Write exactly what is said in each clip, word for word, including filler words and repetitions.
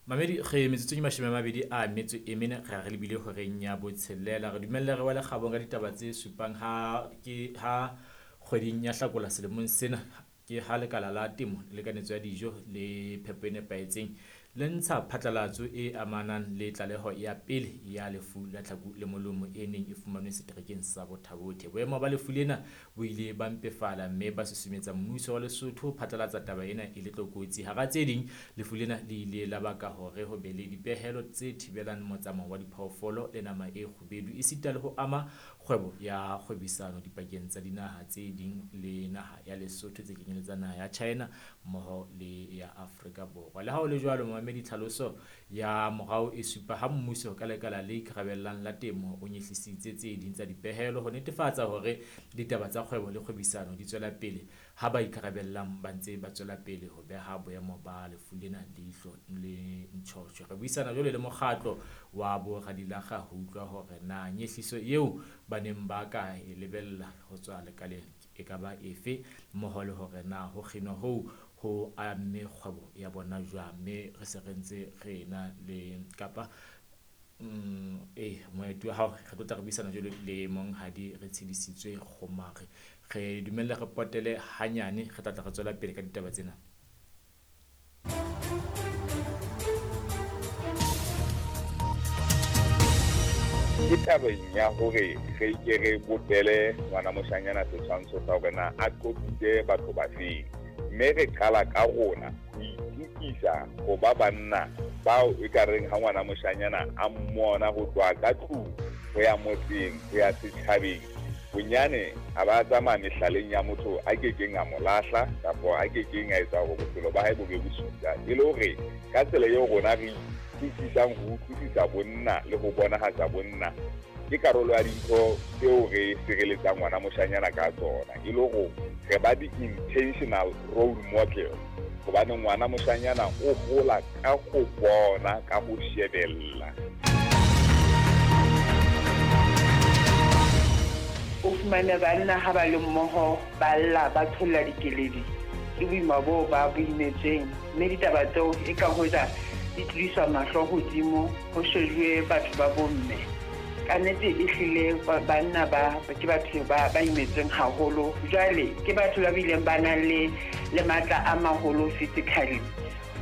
Mamedi re metsotso e mashome a mabedi a metso e mene re re lebile horeng ya botshelela. Re dumelle re wele kgabong ka ditaba tse supang ha ke ha kgweding ya Hlakola selemong sena ke ha lekala la temo le kanetso ya dijo le phepo e nepahetseng le ntsha phatlalatso e amanang le tlaleho ya pele ya lefu la tlhaku le molomo e neng e fumanwe seterekeng sa Botha-Bothe. Boemo ba lefu lena bo ile ba mpefala mme ba susumetsa mmuso wa Lesotho ho phatlalatsa taba ena e le tlokotsi. Hara tse ding, lefu lena le ile la baka hore ho be le dipehelo tse thibelang motsamao wa diphoofolo le nama e kgubedu esita le ho ama kgwebo ya kgwebisano dipakeng tsa dinaha tse ding le naha ya Lesotho tse kenyeletsang naha ya China mmoho le ya Afrika Borwa. Le ha ho le jwalo, momamedi, tlhaloso ya morao e supa ha mmuso ka lekala le ikarabellang la temo o nyehlisitse tse ding tsa dipehelo ho netefatsa hore ditaba tsa kgwebo le kgwebisano di tswela pele ha ba ikarabellang ba ntse ba tswela pele ho beha boemo ba lefu lena leihlo le ntjhotjho. Re buisana jwale le mokgatlo wa boradilakga ho utlwa hore na nyehliso eo ba neng ba ka e lebella ho tswa lekaleng e ka ba efe, mmoho le hore na ho kginwa hoo ho amme kgwebo ya bona jwang. Mme re se re ntse re na le kapa mm, eh moeti wa hao re tlo tla re buisana jwale le monghadi re tshedisitswe Kgomare. Re dumelle re potele hanyane, re tla tla re tswela pele ka ditaba tsena. Ke tabeng ya hore re ke re bopele ngwana moshanyana setshwantsho sa hore na a qotsitse batho ba feng, mme re qala ka rona ho itukisa ho ba banna bao e ka reng ha ngwana moshanyana a mmona ho tloha ka tlung ho ya motseng ho ya setjhabeng, bonyane a ba tsamaya mehlaleng ya motho a kekeng a mo lahla kapa a kekeng a etsa hore bophelo ba hae bo be bosula. E le hore ka tsela eo rona re utlwisisang ho utlwisisa bonna le ho bonahatsa bonna ke karolo ya dintho tseo re sireletsang ngwana moshanyana ka tsona, e le hore re ba di-intentional role model, hobane ngwana moshanyana o hola ka ho bona, ka ho shebella. O fumane banna ha ba le mmoho ba lla ba tholla dikeledi ke boima boo ba bo imetsweng, mme ditaba tseo e ka hoja di tlodiswa mahlo hodimo ho shejuwe batho ba bomme. Ka nnete e hlile banna ba ke batho ba ba imetsweng haholo, jwale ke batho ba bileng ba nang le le matla a maholo physically,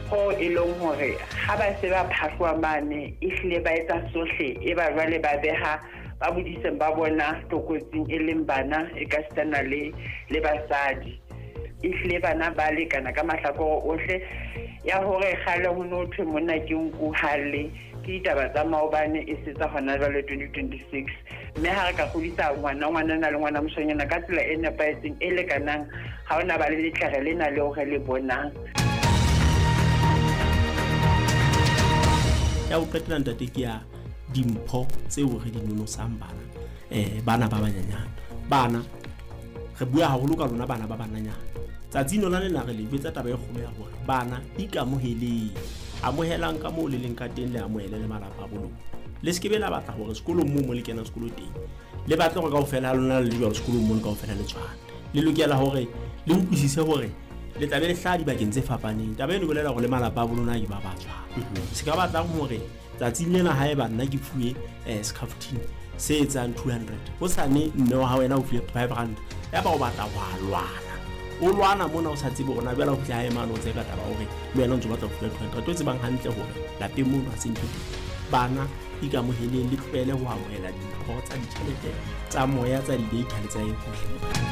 ho e leng hore ha ba se ba phahloha mane e hlile ba etsa sohle e ba jwale ba beha ba bodiseng ba bona tlokotsing e leng bana e ka sitana le le basadi. E hlile bana ba lekana ka mahlakore ohle. Ya hore kgale ho no thwe monna ke nku halle ke ditaba tsa maobane e setsa hona jwale twenty twenty-six, mme ha re ka kgodisa ngwana ngwanana le ngwana moshanyana ka tsela e nepahetseng e lekanang, ha hona ba le letlere lena leo re le bonang. Ya ho qetela ntate ke ya dimpho tseo re di nonosang bana, eh bana ba banyenyane. Bana re bua haholo ka lona bana ba bananyana. Tsatsi lona lena re le jwetsa taba e kgolo ya hore bana ikamoheleng, amohelang ka moo le leng ka teng, le amohele le malapa a bolona. Le se ke be la batla hore sekolong moo mo le kenang sekolo teng le batle hore kaofela ha lona le le jwalo sekolong mono kaofela le tshwane. Le lokela hore le utlwisise hore le tla be le hlaha dibakeng tse fapaneng. Taba eno e bolela hore le malapa a bolona ke ba ba tshwana. Se ka batlang hore tsatsing lena haeba nna ke fuwe eh scaftine se etsang two hundred, hosane mme wa hao wena o fuwe five rand, ya ba o batla wa lwana, o lwana mona o sa tsebe hore na jwale o fihla hae mane o tseka taba hore le wena o ntso batla ho fuwa two hundred, o tsebang hantle hore lapeng mono ha se ntho. Bana ikamoheleng, le tlohele ho amohela dimpho tsa ditjhelete tsa moya tsa di-data le tsa eng hohle.